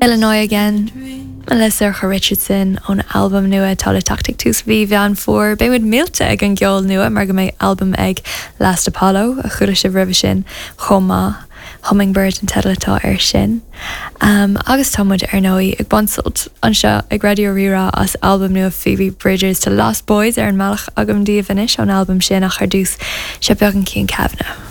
Illinois Again le Sorcha Richardson ón albam nua atá le teacht ag tús mhí Mheán Fómhair. Beidh muid millte ag an gceol nua mar go mbeidh albam ag Last Apollo, a chuala sibh roimhe sin, chomh maith. Hummingbird an teideal atá air sin. Agus tá muid ar ndóigh ag baint sult anseo ag Raidió Rí-Rá as albam nua Phoebe Bridgers. Tá Lost Boys ar an mbealach agam daoibh anois ón albam sin ach ar dtús, seo beagán Cian Kavanagh.